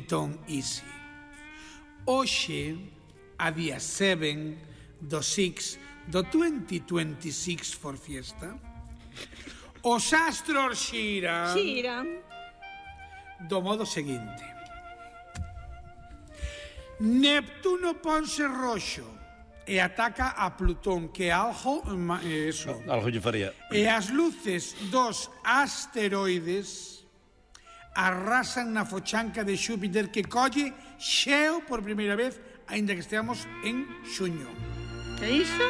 Betón Easy. Hoxe, a día 7 do 6 do 2026 for Fiesta, os astros xiran do modo seguinte: Neptuno ponse roxo e ataca a Plutón, que é algo lle faría. E as luces dos asteroides arrasan na fochanca de Xúpiter, que colle xeo por primeira vez, aínda que esteamos en xuño. Que iso?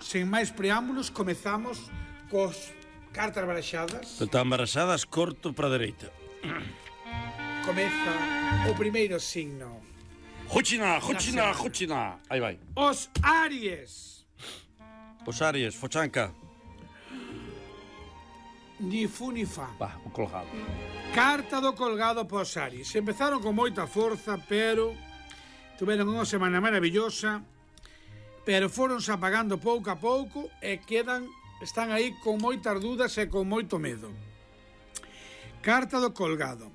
Sen máis preámbulos, comezamos cos cartas baraxadas. Están baraxadas, corto para a dereita. Comeza o primeiro signo. Jochina. Aí vai. Os Aries. Os Aries, fochanca. Ni fu ni fa. O colgado. Carta do colgado pos Aries. Empezaron con moita forza, pero tuveron unha semana maravillosa, pero foronse apagando pouco a pouco e están aí con moitas dudas e con moito medo. Carta do colgado.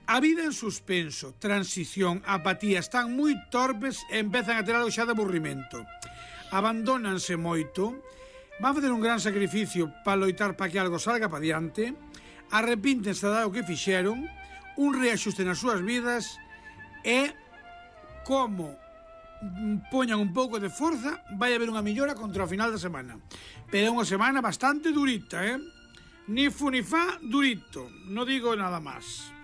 A vida en suspenso, transición, apatía, están moi torpes e empezan a ter algo xa de aburrimento. Abandónanse moito, van facer un gran sacrificio para loitar para que algo salga para diante, arrepíntense de algo que fixeron, un reaxuste nas súas vidas e, como poñan un pouco de forza, vai haber unha millora contra o final da semana. Pero é unha semana bastante durita, Ni fu ni fa, durito, non digo nada máis.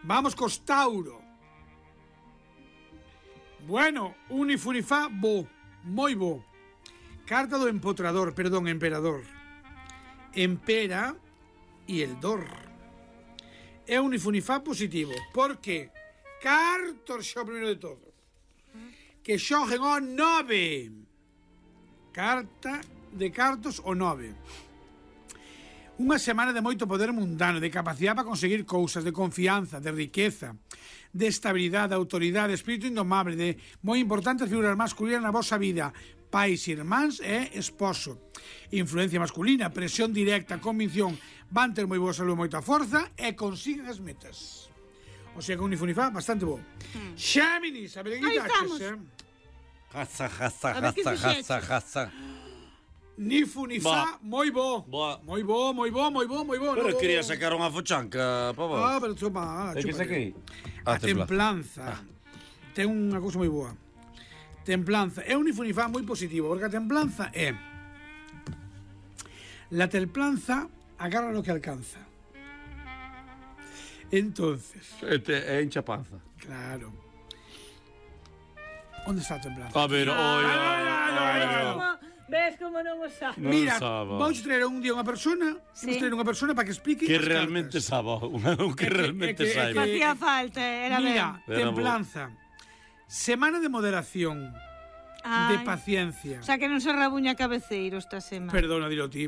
Vamos cos Tauro. Bueno, un ni fu ni fa, moi bo. Carta do emperador. Empera e el dor. É un ni fu ni fa positivo. Por que? Cartos xa o primeiro de todo. Que xogen o 9. Carta de cartos o 9. Unha semana de moito poder mundano, de capacidade para conseguir cousas, de confianza, de riqueza, de estabilidade, de autoridade, de espírito indomable, de moi importantes figuras masculinas na vosa vida, pais, irmáns e esposo. Influencia masculina, presión directa, convicción, van ter moi boa salud, moita forza e consiguen as metas. O sea que un ni fu ni fa, bastante bo. Xéminis, a ver que quitaches, Jaza. Ni fu ni fa, moi bo. Moi bo. Pero quería sacar unha fochanca, pavo. Pero choma. Que saquei? A templanza. Ten unha cousa moi boa. Templanza. É un ni fu ni fa moi positivo, porque a templanza é... La templanza agarra lo que alcanza. Entonces... É hincha panza. Claro. Onde está a templanza? A ver, Ves como non o sabe? Mira, vamos traer un día unha persona, para que explique que realmente saba, que realmente saiba. Facía falta, era ben. Mira, templanza. Semana de moderación, de paciencia. O sea, que non se rabuña cabeceiro esta semana. Perdona, dilo ti.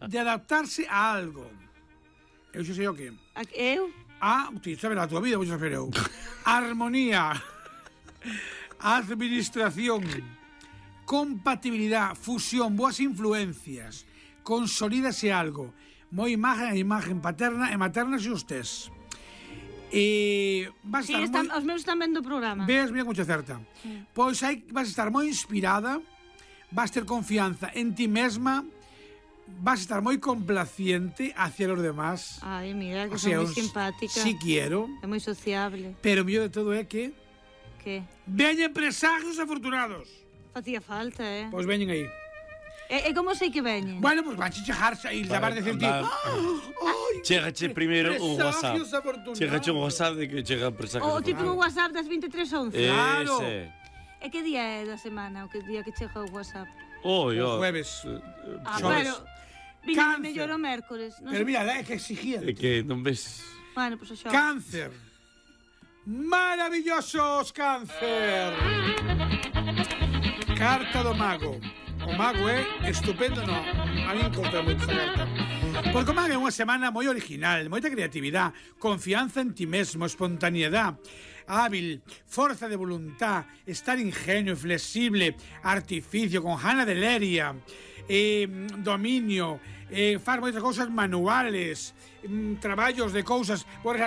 De adaptarse a algo. Eu xa sei o que. Eu? Ti sabes a tua vida, vou saber eu. Armonía. Administración. Compatibilidad, fusión, boas influencias, consolídase algo, moi imagen paterna e materna se os tes. Vas estar os meus están vendo o programa. Ves, mira como che acerta. Pois aí vas estar moi inspirada, vas ter confianza en ti mesma, vas estar moi complaciente hacia los demás. Ai, mira, que son moi simpática. Si quiero. É moi sociable. Pero o mellor de todo é que... Que? Veñen presagios afortunados. Facía falta, Pois veñen aí. E como sei que veñen? Bueno, pois vanche chegarse e levar de decir ti. Chegache primeiro un WhatsApp. Chegache un WhatsApp de que chegan presagios. O típico WhatsApp das 23:11. Claro. E que día é da semana, o que día que chega o WhatsApp? O jueves. Pero viña mellor o mércores. Pero mira, é que exigían. É que non ves... Bueno, pois o xoves. Cáncer. Maravillosos, Cáncer. Carta do mago. O mago é estupendo, non? A mí encontra moito esta carta. Porque o mago é unha semana moi original, moita creatividade, confianza en ti mesmo, espontaneidade, hábil, forza de voluntad, estar ingenio, flexible, artificio, con gana de leria, dominio, faz moitas cousas manuales, traballos de cousas, por